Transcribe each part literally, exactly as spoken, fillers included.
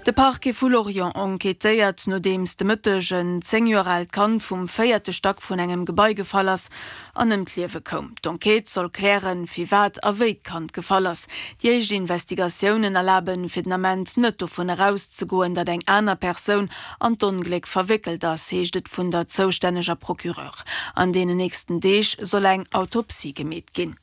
De Parquet vu Lorient enquêtéiert, nodeems de Mëtteg en zéng Joer aalt Kand vum véierte Stack vun engem Gebai gefall ass an ëm d'Liewe koum. D'Enquête soll klären, firwat a wéi d'Kand gefall ass. Déi éischt Investigatiounen erlaben fir den Ament net dovun erauszegoen, datt eng aner Persoun an d'Ongléck verwéckelt ass, heescht et vun der zoustänneger Procureur. An deenen nächsten Deeg soll eng Autopsie gemeet ginn.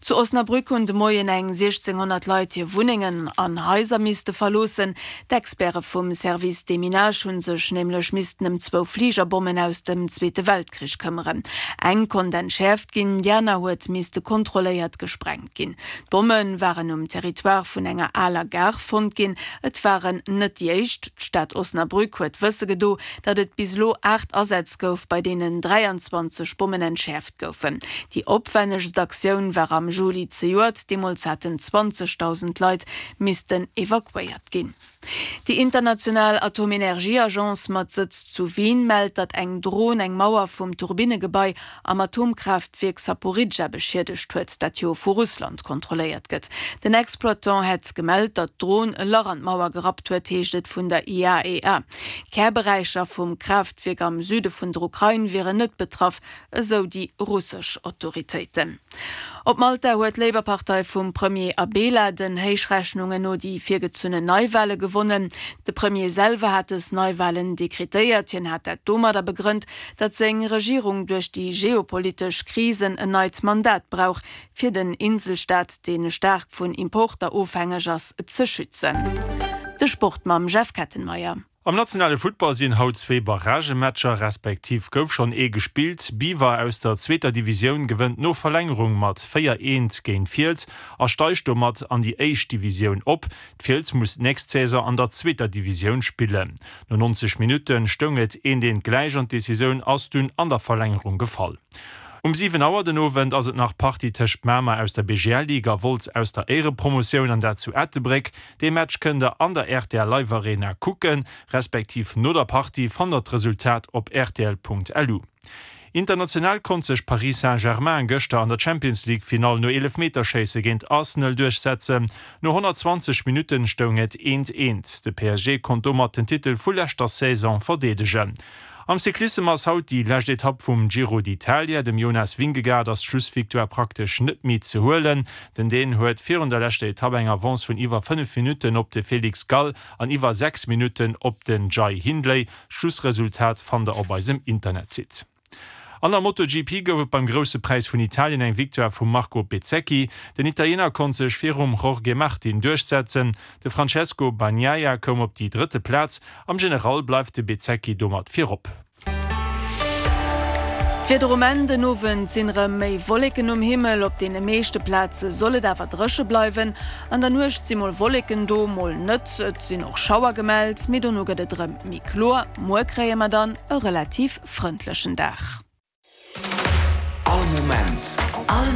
Zu Osnabrück hunn de Moien eng siechzénghonnert Leit hir Wunnengen an Haiser misste verloossen. D'Experte vum Service Déminage hu sech nämlech missten ëm zwou Fligerbommen aus dem Zweete Weltkrich këmmeren. Eng konnt entschäerft ginn, déi aner huet misste kontrolléiert gesprengt ginn. D'Bomme waren um Territoire vun enger aler Gare fonnt ginn. Et waren net déi éischt. D'Stad Osnabrück huet wësse gedo, datt et bis elo aacht Asätz gouf, bei deenen dräianzwanzeg Bommen entschäerft goufen. Déi opwännegst Aktioun war am Juli zejoert, deemools haten zwanzegdausend Leit missten evakuéiert ginn. Déi international Atomenergieagence mat Sëtz zu Wien mellt, datt eng Dron eng Mauer vum Turbinnegebai am Atomkraaftwierk Saporidscha beschiedegt huet, dat jo vu Russland kontrolléiert gëtt. Den Exploitant hätt gemellt, datt d'Dron e Lach an d'Mauer gerappt huet, heescht et vun der I A E A. Kärberäicher vum Kraaftwierk am Süde vun der Ukrain wieren net betraff, esou déi russesch Autoritéiten. Op Malta huet d'Labour-Partei vum Premier Abela den Héichrechnungen no déi virgezunnen Neiwale gewonnen. De Premier selwer hat dës Neiwalen dekretéiert. Hien hat dat domadder begrënnt, datt seng Regierung duerch déi geopolitesch Krisen en neit Mandat brauch, fir den Inselstaat, dee staark vun Importer ofhängeg ass, ze schützen. De Sport mam Jeff Kettenmeyer. Am nationale Futtball sinn haut zwee Barragematcher, respektiv gouf schonn ee gespillt. Biwer aus der zweeter Divisioun gewënnt no Verlängerung mat véier, eent géint Fiels a steigt domat an déi éischt Divisioun op. D'Fiels muss d'nächst Saison an der zweeter Divisioun spillen. No neunzeg Minutte stoung et eent, eent gläich an d'Decisioun ass dunn an der Verlängerung gefall. Um siwen Auer den Owend ass et nach Partie tëscht Mamer aus der B G L Ligue a Wolz aus der Éierepromotioun an dat zu Ettelbréck. Dee Match kënnt der an der R T L Live Arena kucken, respektiv no der Partie fannt der d'Resultat op rtl Punkt L U. International konnt sech Paris Saint-Germain gëschter an der Champions League Finall no Eelefmeterschéisse géint Arsenal duerchsetzen. No honnertzwanzeg Minutten stoung et eent eent. De P S G konnt domat den Titel vu leschter Saison verdeedegen. Am Cyclissem ass haut déi lescht Etapp vum Giro d'Italia. Dem Jonas Vingegaard ass d'Schlussvictoire praktesch net méi ze huelen. Den Dän huet virun der leschter Etapp eng Avance vun iwwer fënnef Minutten op de Felix Gall an iwwer sechs Minutten op den Jai Hindley. D'Schlussresultat fannt der op eisem Internetsite. An der MotoGP gouf et beim Grousse Präis vun Italien eng Victoire vum Marco Bezzecchi. Den Italiener konnt sech virum Jorge Martin duerchsetzen. De Francesco Bagnaia koum op déi drëtte Plaz. Am General bleift de Bezzecchi domat virop. D'Wieder um Enn, Den Owend sinn erëm méi Wolleken um Himmel, op deene meeschte Plaze soll et awer dréche bleiwen. An der Nuecht si mol Wolleken do, mol net, et sinn och Schauer gemellt, mee dono gëtt et erëm méi kloer. Muer kréie mer dann e relativ frëndlechen Dag. All Moment. All